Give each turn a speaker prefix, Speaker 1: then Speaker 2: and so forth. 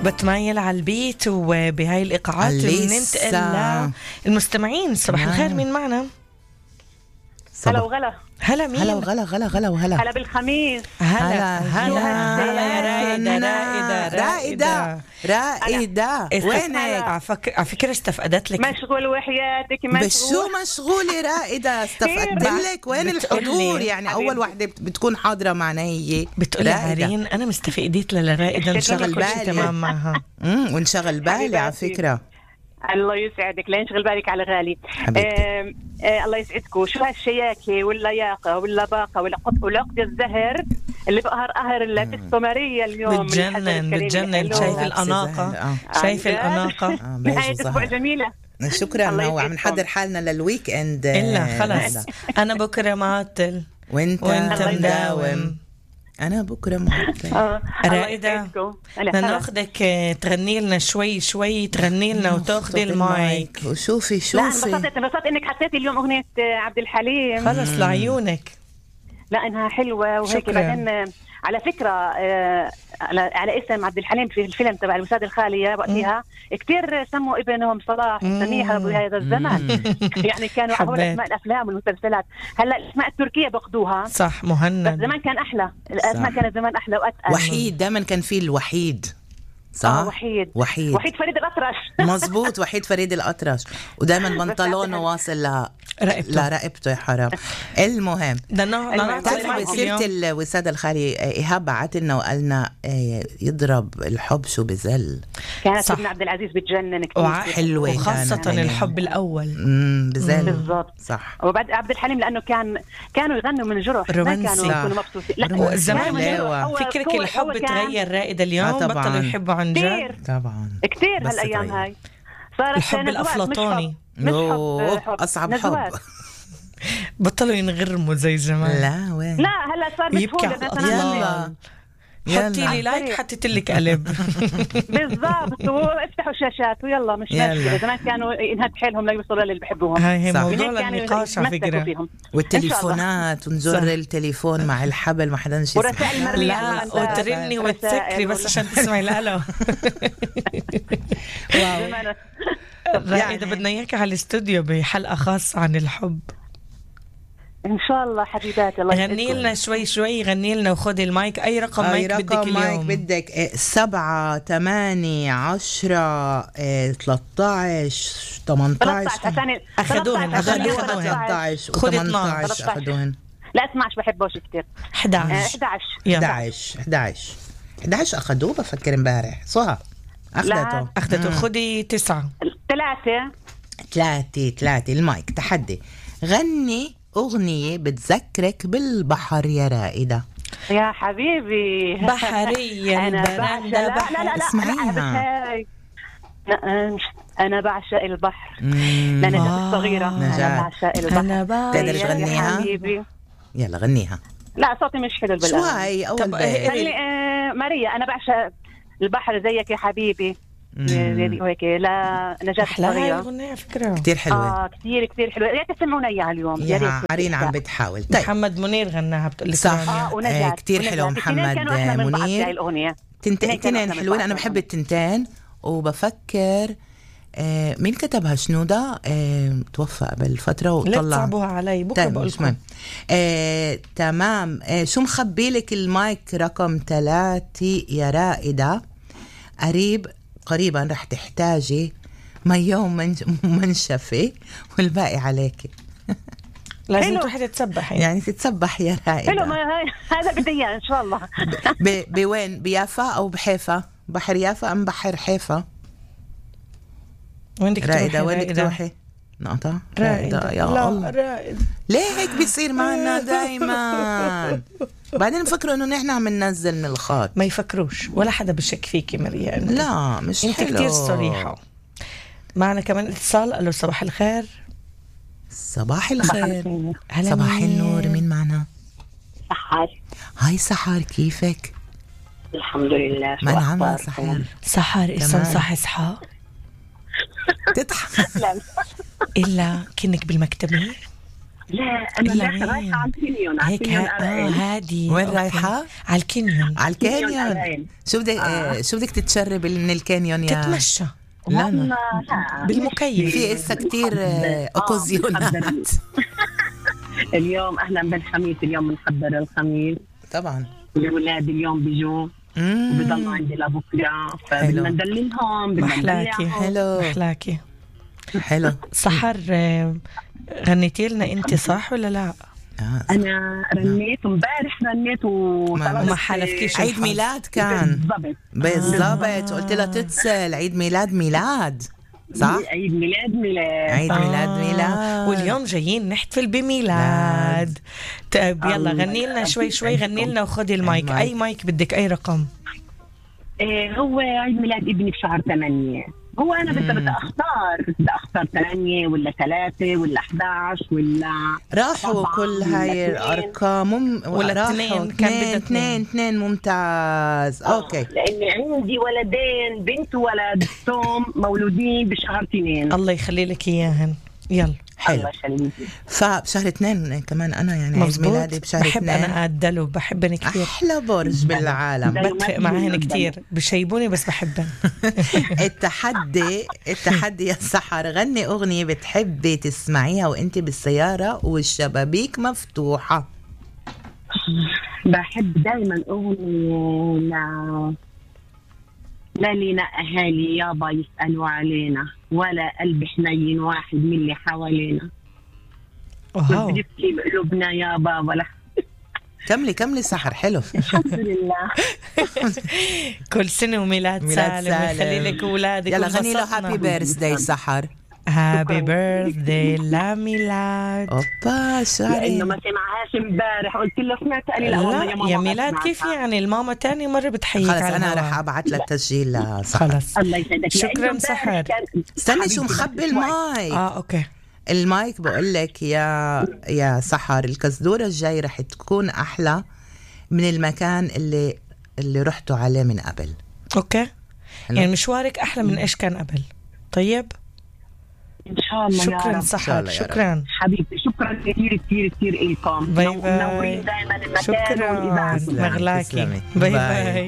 Speaker 1: بتميل على البيت وبهاي الإيقاعات بننتقل للمستمعين. صباح الخير، مين معنا؟
Speaker 2: هلا وغلا.
Speaker 1: هلا مين؟
Speaker 3: هلا وغلا غلا غلا وهلا.
Speaker 2: هلا بالخميس.
Speaker 1: هلا
Speaker 3: رائدة وينك؟
Speaker 1: على فكرة استفقدت لك.
Speaker 2: مشغول وحياتك
Speaker 3: بشو مشغولة رائدة؟ استفقدت لك. وين الحضور؟ يعني أول وحدة بتكون حاضرة معنا هي
Speaker 1: بتقولي عارين أنا مستفقديت لرائدة نشغل بالي تمام معها.
Speaker 3: ونشغل بالي على فكرة.
Speaker 2: الله يسعدك، لا ينشغل بالك على غالي. الله يسعدكم. شو هالشياكة واللياقة واللباقة والعقد الزهر اللي بقهر قهر السومرية اليوم.
Speaker 1: بتجنن. شايف الأناقة؟ شايف الأناقة؟
Speaker 2: نهاية أسبوع جميلة.
Speaker 3: شكرا. وعم نحضر حالنا للويك اند.
Speaker 1: إلا خلاص أنا بكرة معطل
Speaker 3: وانت مداوم. أنا بكرة معطل.
Speaker 1: رائدة ناخدك تغني لنا شوي تغني لنا وتاخدي المايك
Speaker 3: وشوفي.
Speaker 2: لا انبسطت انك حطيتي اليوم أغنية عبد الحليم.
Speaker 1: خلص لعيونك.
Speaker 2: لا انها حلوة وهيك. بعدين على فكرة على اسم عبد الحليم في الفيلم تبع الوسادة الخالية وقتها كتير سموا ابنهم صلاح سميحة بهذا الزمن. يعني كانوا أول أسماء الأفلام والمسلسلات. هلا الأسماء التركية باخدوها
Speaker 1: صح. مهند
Speaker 2: زمان كان أحلى. الأسماء كانت زمان أحلى وأتقل.
Speaker 3: وحيد دائما كان فيه الوحيد. صح.
Speaker 2: وحيد فريد الأطرش.
Speaker 3: مظبوط. وحيد فريد الأطرش. ودائما بنطلونه واصل لرقبته. يا حرام. المهم تعرفي بسيرة الوسادة الخالية إيهاب بعت لنا وقالنا يضرب الحب شو بزل.
Speaker 2: كانت ابن عبد العزيز بتجنن كتير
Speaker 1: حلوة وخاصة الحب الأول
Speaker 3: بزل.
Speaker 2: بالضبط
Speaker 3: صح.
Speaker 2: وبعد عبد الحليم لأنه كانوا يغنوا من جرح، ما كانوا يكونوا مبسوطين.
Speaker 1: لا زمان فكرك الحب تغير رائدة اليوم. بطلوا يحبوا عن جد.
Speaker 3: طبعا
Speaker 2: كتير هالأيام هاي صارت
Speaker 1: الحب الأفلاطوني.
Speaker 3: أصعب حب.
Speaker 1: بطلوا ينغرموا زي زمان.
Speaker 3: لا وين.
Speaker 2: لا هلا صار بسهولة.
Speaker 1: حطي لي لايك حطيت لك قلب.
Speaker 2: بالضبط. وافتحوا الشاشات ويلا مش مشكلة. زمان كانوا ينهد حيلهم لا يوصلوا للي بحبوهم.
Speaker 1: هاي موضوع النقاش على فكرة.
Speaker 3: والتليفونات ونزر التليفون مع الحبل ما حدا نشي.
Speaker 2: ورسائل مرئية.
Speaker 1: لا وترني وتسكري بس عشان تسمعي الألو. رائدة بدنا إياك على الاستوديو بحلقة خاصة عن الحب
Speaker 2: إن شاء الله حبيباتي. الله
Speaker 1: غني لنا شوي غني لنا وخذي المايك. أي رقم مايك بدك اليوم؟
Speaker 3: بدك 7 8 10 13 18.
Speaker 1: أخذوهن
Speaker 3: 13 و18 أخذوهن.
Speaker 2: لا 12 بحبوش كتير.
Speaker 3: 11 أخذوه بفكر امبارح. صح أخذته.
Speaker 1: خذي 9
Speaker 3: 3 المايك. تحدي غني أغنية بتذكرك بالبحر يا رائدة.
Speaker 2: يا حبيبي
Speaker 1: بحرية البرندة بحر.
Speaker 2: لا
Speaker 3: اسمعيها.
Speaker 2: أنا بعشق البحر. لنجاة الصغيرة. أنا بعشق البحر.
Speaker 3: تقدر تغنيها؟ يلا غنيها.
Speaker 2: لا صوتي مش حلو بالله.
Speaker 3: شو هاي أول
Speaker 2: ماريا أنا بعشق البحر زيك يا حبيبي. وهيك لا نجاة الصغيرة.
Speaker 1: أغنية فكرة
Speaker 3: كتير حلوة.
Speaker 2: كتير حلوة. يا تسمعونا إياها اليوم.
Speaker 3: يا عرين عم بتحاول.
Speaker 1: طيب. محمد منير غناها بتقول لك
Speaker 3: صح. كتير حلو محمد منير. تنتين حلوين. أنا بحب التنتين وبفكر مين كتبها؟ شنودة توفى قبل فترة وطلع.
Speaker 1: لا تصعبوها علي بكرة بقولكم.
Speaker 3: تمام. شو مخبيلك المايك رقم 3 يا رائدة. قريبا رح تحتاجي مية ومنشفة والباقي عليكي.
Speaker 1: لازم تروحي تتسبحي.
Speaker 3: يعني تتسبح يا رائدة.
Speaker 2: حلو. هذا بدي اياه ان شاء الله.
Speaker 3: بوين؟ بيافا او بحيفا؟ بحر يافا ام بحر حيفا؟
Speaker 1: وين بدك تروحي
Speaker 3: رائدة؟ وين بدك تروحي؟ نقطة رائدة. يا الله
Speaker 1: رائدة.
Speaker 3: ليه هيك بيصير معنا دايما؟ بعدين فكروا انه نحن عم ننزل من الخط.
Speaker 1: ما يفكروش ولا حدا بشك فيكي مريان.
Speaker 3: لا مش
Speaker 1: انت
Speaker 3: حلو.
Speaker 1: كتير صريحة. معنا كمان اتصال. الو صباح الخير.
Speaker 3: صباح الخير.
Speaker 1: صباح
Speaker 3: النور. مين معنا؟
Speaker 4: سحر.
Speaker 3: هاي سحر كيفك؟
Speaker 4: الحمد لله.
Speaker 3: ما نعمل
Speaker 1: سحر اسم صح إسحاق.
Speaker 3: تضحك
Speaker 1: إلا كنك بالمكتبة.
Speaker 4: لا أنا رايحة على الكانيون.
Speaker 1: هيك هادي.
Speaker 3: وين رايحة؟
Speaker 1: على الكانيون.
Speaker 3: على الكانيون. شو بدك تتشرب من الكانيون يا؟
Speaker 1: تتمشى.
Speaker 3: لا
Speaker 1: بالمكيف.
Speaker 3: في إسا كتير أوكازيونات.
Speaker 4: اليوم أهلا بالخميس، اليوم بنحضر الخميس طبعا. الأولاد اليوم بيجوا وبيضلوا عندي لبكرة، فبدنا ندللهم.
Speaker 1: محلاكي.
Speaker 3: حلو. حلو.
Speaker 1: سحر غنيتي لنا انت صح ولا لا؟
Speaker 4: انا رنيت امبارح، رنيت
Speaker 1: وما حلفتيش.
Speaker 3: عيد ميلاد كان بالضبط. قلت لها تتصل. عيد ميلاد صح؟
Speaker 4: عيد ميلاد.
Speaker 1: واليوم جايين نحتفل بميلاد. طيب يلا غني لنا شوي غني لنا وخدي المايك. اي مايك بدك، اي رقم؟
Speaker 4: هو عيد ميلاد ابني بشهر 8. هو أنا بدي أختار 8 ولا 3 ولا 11 ولا
Speaker 3: راحوا كل هاي الأرقام
Speaker 1: ولا 2. كان بدها
Speaker 3: 2 ممتاز. أوكي.
Speaker 4: لأني عندي ولدين، بنت وولد، توم مولودين بشهر 2.
Speaker 1: الله يخلي لك إياهن. يلا
Speaker 3: حلو. فبشهر 2 كمان أنا يعني عيد ميلادي بشهر 2.
Speaker 1: بحب أنا أدلو، بحبني كثير.
Speaker 3: أحلى برج بالعالم.
Speaker 1: بتفق معهن كتير، بشيبوني بس بحبن.
Speaker 3: التحدي يا سحر، غني أغنية بتحبي تسمعيها وانت بالسيارة والشبابيك مفتوحة.
Speaker 4: بحب دايما أغنية لا لينا أهالي يابا يسألوا علينا، ولا قلب حنين واحد من اللي حوالينا. بنبكي بقلوبنا يابا ولا.
Speaker 3: كملي سحر. حلو.
Speaker 4: الحمد لله.
Speaker 1: كل سنة وميلاد سالم ويخلي لك أولادك.
Speaker 3: يلا غني له هابي بيرثداي سحر.
Speaker 1: هابي بيرثداي لا ميلاد.
Speaker 3: اوبا شعري
Speaker 4: انه ما سمعهاش امبارح، قلت له سمعت، قال لي
Speaker 1: لا يا ميلاد كيف يعني؟ الماما تاني مرة بتحييك.
Speaker 3: خلص انا رح ابعث لك تسجيل لسحر.
Speaker 1: خلص
Speaker 4: الله يسعدك.
Speaker 1: شكرا سحر.
Speaker 3: استني شو مخبي المايك.
Speaker 1: اوكي
Speaker 3: المايك. بقول لك يا سحر، الكزدورة الجاي رح تكون احلى من المكان اللي رحتوا عليه من قبل.
Speaker 1: اوكي يعني مشوارك احلى من ايش كان قبل. طيب
Speaker 4: إن شاء الله.
Speaker 1: شكرا سحر. شكرا
Speaker 4: حبيبتي. شكرا كثير كثير كثير إلكم.
Speaker 1: باي باي.
Speaker 4: منورين دايما المكان
Speaker 1: شكرا مغلاكي. باي باي.